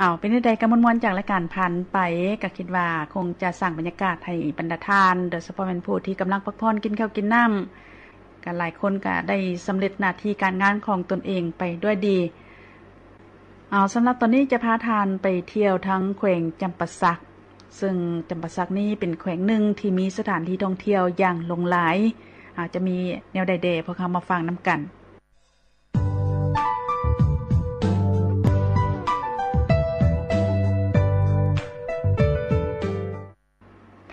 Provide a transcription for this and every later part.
ເອົາ ເປັນແນວໃດກະມ່ວນໆ ຈາກລາຍການຜ່ານໄປ ກະຄິດວ່າຄົງຈະສ້າງບັນຍາກາດໃຫ້ບັນດາທ່ານ ໂດຍສະເພາະແມ່ນຜູ້ທີ່ກຳລັງພັກຜ່ອນ ກິນເຂົ້າກິນນ້ຳ ກະຫຼາຍຄົນກະໄດ້ສຳເລັດໜ້າທີ່ການງານຂອງຕົນເອງໄປດ້ວຍດີ. ເອົາ ສຳລັບຕອນນີ້ຈະພາທ່ານໄປທ່ຽວທາງແຂວງຈຳປາສັກ ເຊິ່ງຈຳປາສັກນີ້ເປັນແຂວງໜຶ່ງທີ່ມີສະຖານທີ່ທ່ອງທ່ຽວຢ່າງຫຼວງຫຼາຍ. ອາດຈະມີແນວໃດແດ່ ພວກເຮົາມາຟັງນຳກັນ.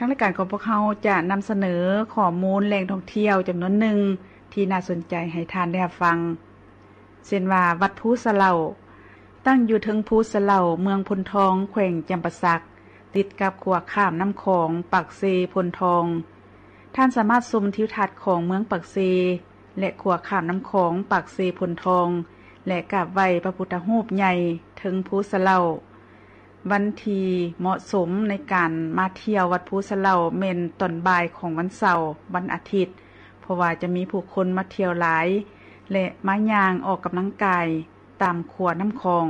ທາງລາຍການຂອງພວກເຮົາຈະນຳສະເໜີຂໍ້ມູນແຫຼ່ງທ່ອງທ່ຽວຈຳນວນໜຶ່ງທີ່ໜ້າສົນໃຈໃຫ້ທ່ານໄດ້ຮັບຟັງ ເຊັ່ນວ່າ ວັດພູສະເຫຼົ່າ ຕັ້ງຢູ່ເທິງພູສະເຫຼົ່າ ເມືອງໂພນທອງ ແຂວງຈຳປາສັກ ຕິດກັບຂົວຂ້າມນ້ຳຂອງ ປາກເຊ-ໂພນທອງ. ທ່ານສາມາດຊົມທິວທັດຂອງເມືອງປາກເຊ ແລະ ຂົວຂ້າມນ້ຳຂອງ ປາກເຊ-ໂພນທອງ ແລະ ກາບໄຫວ້ພະພຸດທະຮູບໃຫຍ່ເທິງພູສະເຫຼົ່າ. ວັນທີ່ເໝາະສົມໃນການມາທ່ຽວວັດພູສະເຫຼົ່າແມ່ນຕອນບ່າຍຂອງວັນເສົາ, ວັນອາທິດ, ເພາະວ່າຈະມີຜູ້ຄົນມາທ່ຽວຫຼາຍ ແລະ ມາຍ່າງອອກກຳລັງກາຍຕາມຂົວນ້ຳຂອງ.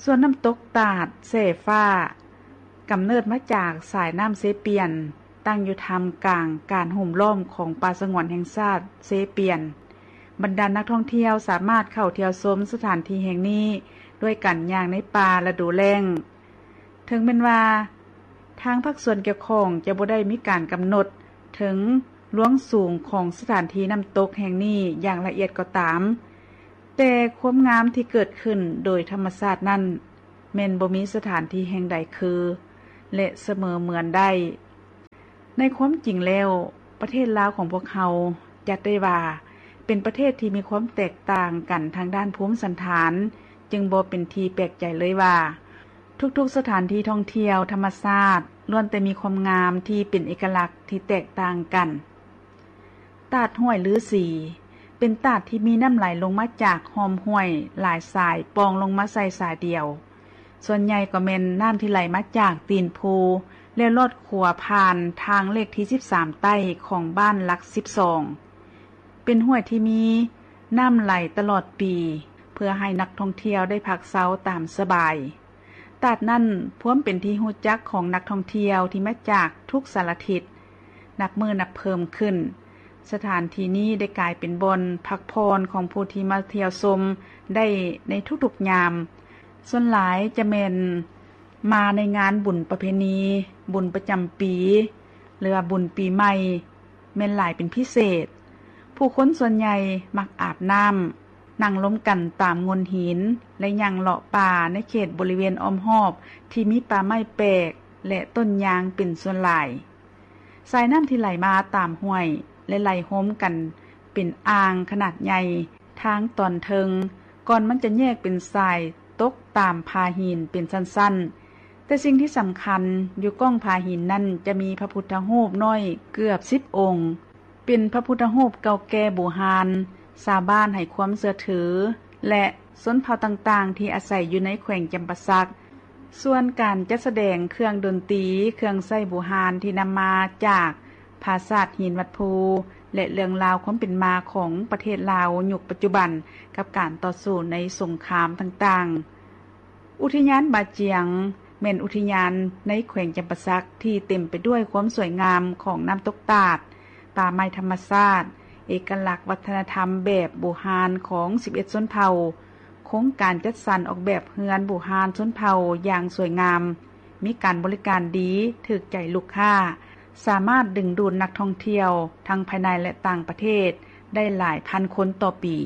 ສ່ວນນ້ຳຕົກຕາດແສຟ້າ ກຳເນີດມາຈາກສາຍນ້ຳເຊປຽນ, ຕັ້ງຢູ່ທ່າມກາງການໂຮມລ້ອມຂອງປ່າສະຫງວນແຫ່ງຊາດເຊປຽນ. ບັນດານັກທ່ອງທ່ຽວສາມາດເຂົ້າທ່ຽວຊົມສະຖານທີ່ແຫ່ງນີ້ດ້ວຍການຍ່າງໃນປ່າລະດູແລ້ງ. ເຖິງແມ່ນວ່າທາງພາກສ່ວນກ່ຽວຂ້ອງຈະບໍ່ໄດ້ມີການກຳນົດເຖິງລວງສູງຂອງສະຖານທີ່ນ້ຳຕົກແຫ່ງນີ້ຢ່າງລະອຽດກໍຕາມ, ແຕ່ຄວາມງາມທີ່ເກີດຂຶ້ນໂດຍທຳມະຊາດນັ້ນ ແມ່ນບໍ່ມີສະຖານທີ່ແຫ່ງໃດຄື ແລະ ສະເໝີເໝືອນໄດ້. ໃນຄວາມຈິງແລ້ວ, ປະເທດລາວຂອງພວກເຮົາ ຈັດໄດ້ວ່າເປັນປະເທດທີ່ມີຄວາມແຕກຕ່າງກັນທາງດ້ານພູມສັນຖານ, ຈຶ່ງບໍ່ເປັນທີ່ແປກໃຈເລີຍວ່າ ທຸກໆສະຖານທີ່ທ່ອງທ່ຽວທຳມະຊາດ ລ້ວນແຕ່ມີຄວາມງາມທີ່ເປັນເອກະລັກທີ່ແຕກຕ່າງກັນ. ຕາດຫ້ວຍລືສີ ເປັນຕາດທີ່ມີນ້ຳໄຫຼລົງມາຈາກຮ່ອມຫ້ວຍຫຼາຍສາຍປ່ອງລົງມາໃສ່ສາຍດຽວ. ສ່ວນໃຫຍ່ກໍແມ່ນນ້ຳທີ່ໄຫຼມາຈາກຕີນພູ ແລ້ວລອດຂົວຜ່ານທາງເລກທີສິບສາມໃຕ້ຂອງບ້ານຫຼັກສິບສອງ. ເປັນຫ້ວຍທີ່ມີນ້ຳໄຫຼຕະຫຼອດປີ ເພື່ອໃຫ້ນັກທ່ອງທ່ຽວໄດ້ພັກເຊົາຕາມສະບາຍ. ຕາດນັ້ນພວມເປັນທີ່ຮູ້ຈັກຂອງນັກທ່ອງທ່ຽວທີ່ມາຈາກທຸກສາລະທິດ ນັບມື້ນັບເພີ່ມຂຶ້ນ. ສະຖານທີ່ນີ້ໄດ້ກາຍເປັນບ່ອນພັກຜ່ອນຂອງຜູ້ທີ່ມາທ່ຽວຊົມໄດ້ໃນທຸກໆຍາມ. ສ່ວນຫຼາຍຈະແມ່ນມາໃນງານບຸນປະເພນີ, ບຸນປະຈຳປີ ຫຼືວ່າບຸນປີໃໝ່ ແມ່ນຫຼາຍເປັນພິເສດ. ຜູ້ຄົນສ່ວນໃຫຍ່ມັກອາບນ້ຳ, ນັ່ງລົມກັນຕາມໂງ່ນຫີນ ແລະ ຍ່າງເລາະປ່າໃນເຂດບໍລິເວນອ້ອມຮອບທີ່ມີປ່າໄມ້ແປກ ແລະ ຕົ້ນຍາງເປັນສ່ວນຫຼາຍ. ສາຍນ້ຳທີ່ໄຫຼມາຕາມຫ້ວຍ ແລະ ໄຫຼໂຮມກັນເປັນອ່າງຂະໜາດໃຫຍ່ທາງຕອນເທິງ ກ່ອນມັນຈະແຍກເປັນສາຍຕົກຕາມຜາຫີນເປັນຊັ້ນໆ. ແຕ່ສິ່ງທີ່ສຳຄັນ ຢູ່ກ້ອງຜາຫີນນັ້ນຈະມີພະພຸດທະຮູບນ້ອຍເກືອບສິບອົງ ເປັນພະພຸດທະຮູບເກົ່າແກ່ບູຮານ, ຊາວບ້ານໃຫ້ຄວາມເຊື່ອຖື ແລະ ຊົນເຜົ່າຕ່າງໆທີ່ອາໄສຢູ່ໃນແຂວງຈຳປາສັກ. ສ່ວນການຈັດສະແດງເຄື່ອງດົນຕີ, ເຄື່ອງໃຊ້ບູຮານທີ່ນຳມາຈາກຜາສາດຫີນວັດພູ ແລະ ເລື່ອງລາວຄວາມເປັນມາຂອງປະເທດລາວຍຸກປັດຈຸບັນ ກັບການຕໍ່ສູ້ໃນສົງຄາມຕ່າງໆ. ອຸທິຍານບາຈຽງ ແມ່ນອຸທິຍານໃນແຂວງຈຳປາສັກທີ່ເຕັມໄປດ້ວຍຄວາມສວຍງາມຂອງນ້ຳຕົກຕາດ, ປ່າໄມ້ທຳມະຊາດ, ເອກະລັກວັດທະນະທຳແບບບູຮານຂອງສິບເອັດຊົນເຜົ່າ. ໂຄງການຈັດສັນອອກແບບເຮືອນບູຮານຊົນເຜົ່າຢ່າງສວຍງາມ, ມີການບໍລິການດີ, ຖືກໃຈລູກຄ້າ, ສາມາດດຶງດູດນັກທ່ອງທ່ຽວທັງພາຍໃນ ແລະ ຕ່າງປະເທດໄດ້ຫຼາຍພັນຄົນຕໍ່ປີ.